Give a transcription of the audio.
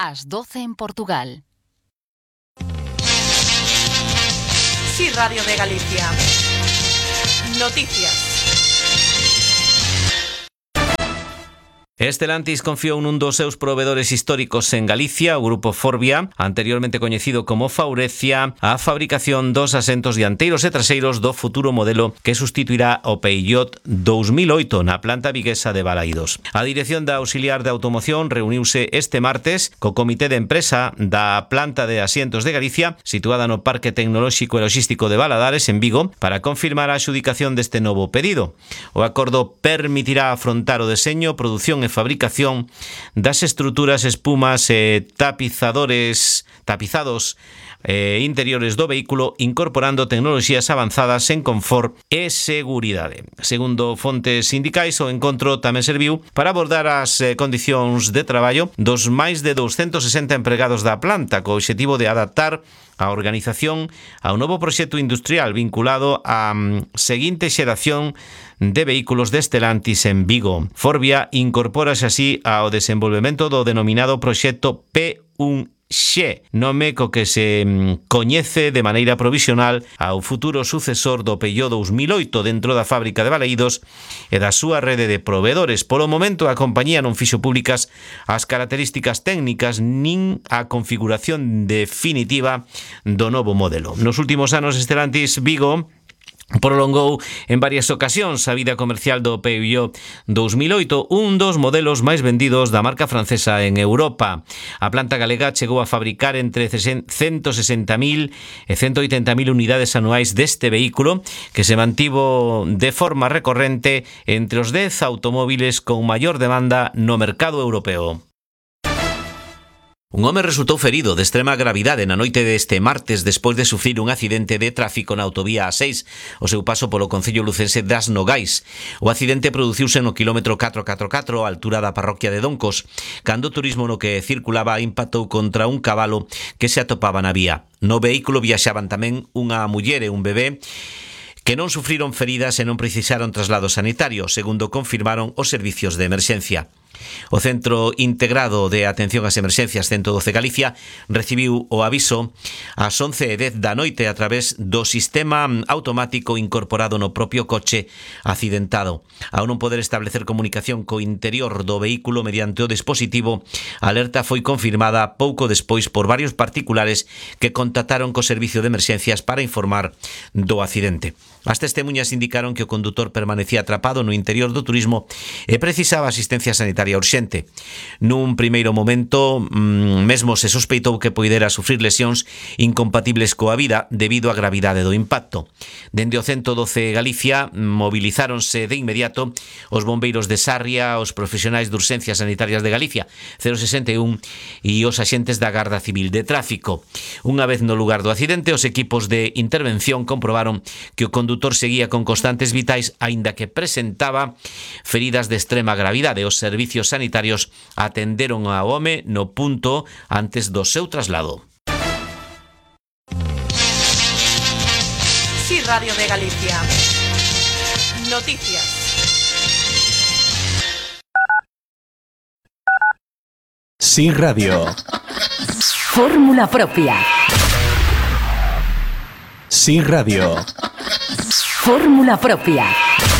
Ás 12 en Portugal. Sí, Radio de Galicia. Noticias. Stellantis confiou nun dos seus provedores históricos en Galicia, o grupo Forvia, anteriormente coñecido como Faurecia, a fabricación dos asentos dianteiros e traseiros do futuro modelo que sustituirá o Peugeot 2008 na planta viguesa de Balaídos. A Dirección da Auxiliar de Automoción reuniuse este martes co Comité de Empresa da planta de asientos de Galicia, situada no Parque Tecnolóxico e Logístico de Valadares, en Vigo, para confirmar a adxudicación deste novo pedido. O acordo permitirá afrontar o deseño, produción e fabricación das estruturas, espumas e tapizados interiores do vehículo, incorporando tecnoloxías avanzadas en confort e seguridade. Segundo fontes sindicais, o encontro tamén serviu para abordar as condicións de traballo dos máis de 260 empregados da planta, co obxectivo de adaptar a organización ao novo proxecto industrial vinculado á seguinte xeración de vehículos de Stellantis en Vigo. Forvia incorpórase así ao desenvolvemento do denominado proxecto P1X, nome co que se coñece de maneira provisional ao futuro sucesor do Peugeot 2008 dentro da fábrica de Balaídos e da súa rede de proveedores. Polo momento, a compañía non fixo públicas as características técnicas nin a configuración definitiva do novo modelo. Nos últimos anos, Stellantis Vigo prolongou en varias ocasións a vida comercial do Peugeot 2008, un dos modelos máis vendidos da marca francesa en Europa. A planta galega chegou a fabricar entre 160.000 e 180.000 unidades anuais deste vehículo, que se mantivo de forma recorrente entre os 10 automóviles con maior demanda no mercado europeo. Un home resultou ferido de extrema gravidade na noite deste martes despois de sufrir un accidente de tráfico na autovía A6, o seu paso polo concello lucense das Nogais. O accidente produciuse no quilómetro 444, á altura da parroquia de Doncos, cando o turismo no que circulaba impactou contra un cabalo que se atopaba na vía. No vehículo viaxaban tamén unha muller e un bebé, que non sufriron feridas e non precisaron traslado sanitario, segundo confirmaron os servicios de emerxencia. O Centro Integrado de Atención ás Emerxencias 112 Galicia recibiu o aviso ás 11:10 da noite a través do sistema automático incorporado no propio coche accidentado. Ao non poder establecer comunicación co interior do vehículo mediante o dispositivo, a alerta foi confirmada pouco despois por varios particulares que contactaron co servicio de emerxencias para informar do accidente. As testemunhas indicaron que o condutor permanecía atrapado no interior do turismo e precisaba asistencia sanitaria urxente. Nun primeiro momento, mesmo se sospeitou que poidera sufrir lesións incompatibles coa vida debido á gravidade do impacto. Dende o 112 Galicia movilizáronse de inmediato os bombeiros de Sarria, os profesionais de urxencias sanitarias de Galicia 061 e os axentes da Garda Civil de Tráfico. Unha vez no lugar do accidente, os equipos de intervención comprobaron que o condutor seguía con constantes vitais, aínda que presentaba feridas de extrema gravidade. Os servicios sanitarios atenderon ao home no punto antes do seu traslado. Sí, Radio de Galicia. Noticias. Sí, Radio. Fórmula propia. Sí, Radio. Fórmula propia.